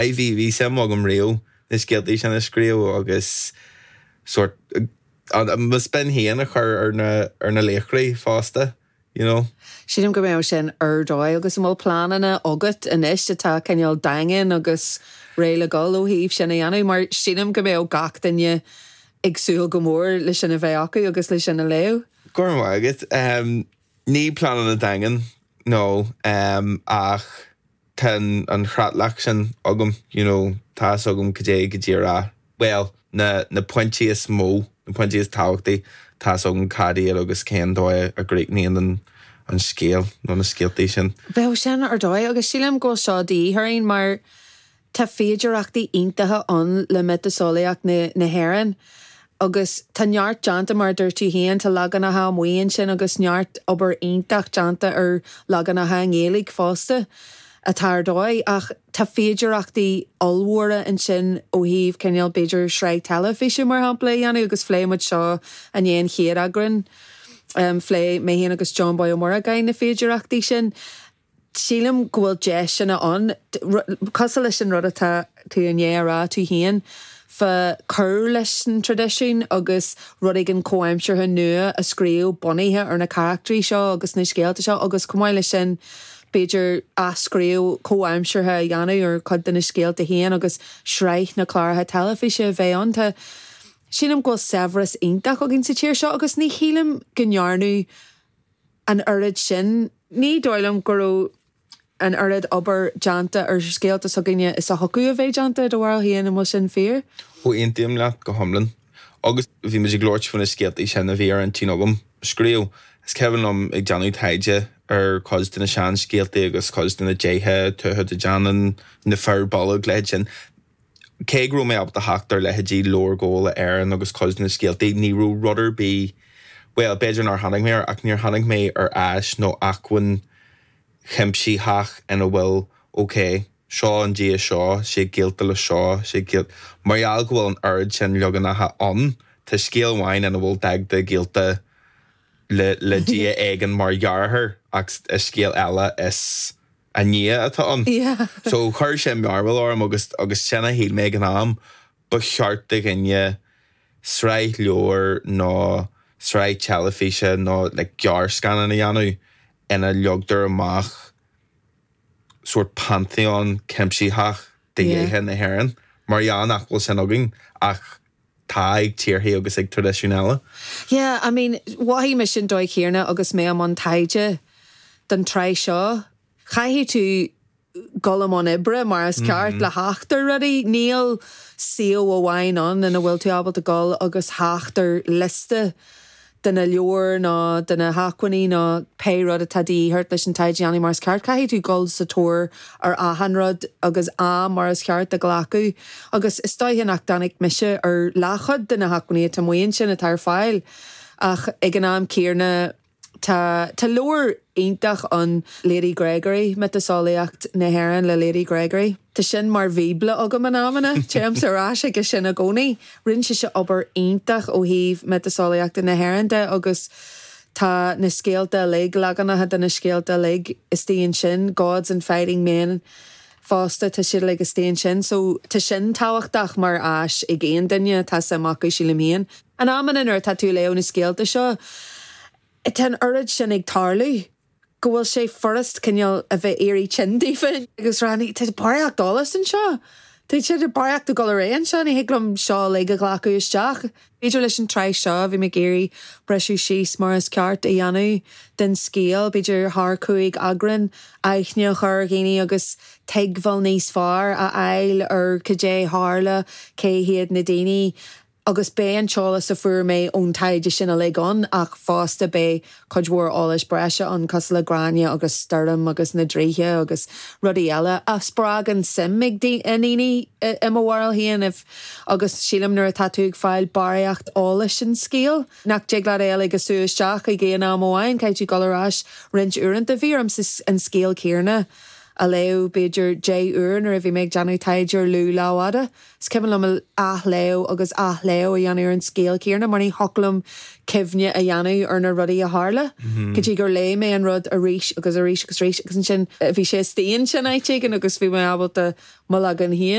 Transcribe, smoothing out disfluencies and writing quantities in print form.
Aye, bhí, bhí suim agam riamh na scéaltaí sin a scríobh agus sórt mo spin féin a chur ar na, ar na laochraí fosta, you know. Sílim go mbeadh sin ar dóigh agus an bhfuil pleananna agat anois atá cineál daingean agus réidh le dul ó thaobh sin a dhéanamh mar sílim go mbeadh gach duine ag súil go mór le sin a bheith acu agus le sin a léamh. Go raibh maith agat. Ní pleananna daingean, no, ach tá an chreatlach sin agam, you know, tá fhios agam cad é go díreach, bhuel, na na pointí is mó, na pointí is tábhachtaí, tá fhios agam cad iad agus cén dóigh a gcríochnaíonn an an scéal nó na scéaltaí sin. Bheadh sin ar dóigh agus sílim go bhfuil seo de dhíth orainn mar Tá féidearthachtaí iontacha ann le miotaseolaíocht na hÉireann agus tá neart déanta, mar a dúirt tú féin, tá leaganacha amuigh ansin agus neart obair iontach déanta ar leaganacha i nGaeilge fosta atá ar dóigh ach tá féidearthachtaí ollmhóra ansin ó thaobh cineál b'fhéidir sraith teilifíse mar shampla a dhéanamh agus phléigh muid seo i ndiaidh an chéad eagrán, phléigh mé féin agus John Boy Ó Muireagáin na féidearthachtaí sin. Sílim go bhfuil deiseanna ann, cosúil leis an rud atá tú i ndiaidh a rá tú féin, fá cur leis an traidisiún agus rud éigin comhaimseartha nua a scríobh bunaithe ar na carachtraí seo agus na scéalta seo agus chomh maith leis sin b'fhéidir athscríobh comhaimseartha a dhéanamh ar chuid de na scéalta féin agus sraith na cláracha teilifíse a bheith ann. Tá, sílim go bhfuil saibhreas iontach againn sa tír seo agus ní shílim go ndearnadh an oiread sin. Ní dóigh liom go raibh an oiread obair déanta ar scéalta s'againne is a thiocfadh a bheith déanta, i do bharúil féin, an bhfuil sin fíor? Ó, aontaím leat go hiomlán. Agus bhí muid ag labhairt faoi na scéaltaí sin a bhí ar intinn agam a scríobh. Is cuimhin liom ag déanamh taighde ar chuid de na seanscéaltaí agus cuid de na déithe, Tuatha Dé Danann, na Fir Bolg, leithéid sin. Cé go raibh mé ábalta theacht ar leithéidí Leabhar Gabhála Éireann agus cuid de na scéaltaí, ní raibh rud ar bith, bhuel, b'fhéidir nár tháinig mé air, ach níor tháinig mé ar áis nó acmhainn chuimsitheach ina bhfuil, ok, seo an dia seo, sé gaolta le seo, sé gaolta, mar gheall go bhfuil an oiread sin leaganacha ann, tá scéal amháin ina bhfuil Dagda gaolta le le dia éigin mar dheartháir ach i scéal eile is a nia atá ann. So chuir sé mearbhall orm agus agus sin a shíl mé ag an am, ba cheart do dhuine sraith leabhar nó sraith teilifíse nó like gearrscannán a dhéanamh ina leagtar amach sórt pantheon cuimsitheach de dhéithe na hÉireann. Mar gheall nach bhfuil sin againn ach tá ag tíorthaí agus ag traidisiúin eile. Yeah, I mean, mhothaigh mise an dóigh chéanna agus mé i mbun taighde don tsraith seo. Caithfidh tú dul i mbun oibre mar is ceart le theacht ar rudaí. Níl suíomh amháin ann ina bhfuil tú ábalta dul agus theacht ar liosta de na leabhair nó de na hacmhainní nó pé rud atá de dhíth ort leis an taighde a dhéanamh mar is ceart. Caithfidh tú dul sa tóir ar achan rud agus am mar is ceart a ghlacadh agus is dóiche nach dtáinig mise ar leathchuid de na hacmhainní atá amuigh ansin atá ar fáil ach ag an am céanna tá tá leabhar iontach ann Lady Gregory, Miotaseolaíocht na hÉireann le Lady Gregory. Tá sin mar bhíobla agam in amanna, téimse ar ais chuige sin i gcónaí. Rinne sise obair iontach ó thaobh miotaseolaíochta na hÉireann de agus tá na scéalta uilig, leaganacha de na scéalta uilig istigh ansin, Gods and Fighting Men fosta, tá siad uilig istigh ansin. So tá sin tábhachtach mar áis ag aon duine atá suim acu, sílim féin. In amanna nuair atá tú ag léamh na scéalta seo, tá an oiread sin ag tarlú go bhfuil sé furast cineál a bheith éirí tinn daofa agus rá tá barraíocht eolais anseo, tá sé barraíocht ag dul ar aghaidh anseo, ní thig liom seo uilig a ghlacadh isteach. B'fhéidir leis an tsraith seo, bhí mé ag iarraidh briseadh síos mar is ceart a dhéanamh den scéal, b'fhéidir thar chúig eagrán, aithne a chur ar dhaoine agus tuigbheáil níos fearr a fháil ar cad é tharla, cé hiad na daoine. Agus beidh an t-eolas a fuair mé ón taighde sin uilig ann, ach fosta beidh cuid mhór eolais breise ann, cosúil le Gráinne agus Stoirm agus na draoithe agus rudaí eile a spreagann suim ag i ndaoine i mo bharúil féin. Agus sílim nuair atá tú ag fáil barraíocht eolais an scéal, nach dtig leat é uilig a sú isteach ag aon am amháin, caithfidh tú dul ar ais roinnt uaireanta. Bhí ormsa an scéal céanna. a léamh b'fhéidir 10 uair nuair a bhí mé ag déanamh taighde ar Lugh Lámhfhada. Is cuimhin liom athléamh agus athléamh a dhéanamh ar an scéal céanna mar ní thiocfadh liom cuimhne a dhéanamh ar na rudaí a tharla go dtí gur léigh mé an rud arís agus arís agus arís agus ansin bhí sé istigh ansin áit éigin agus bhí mé ábalta mo leagan féin.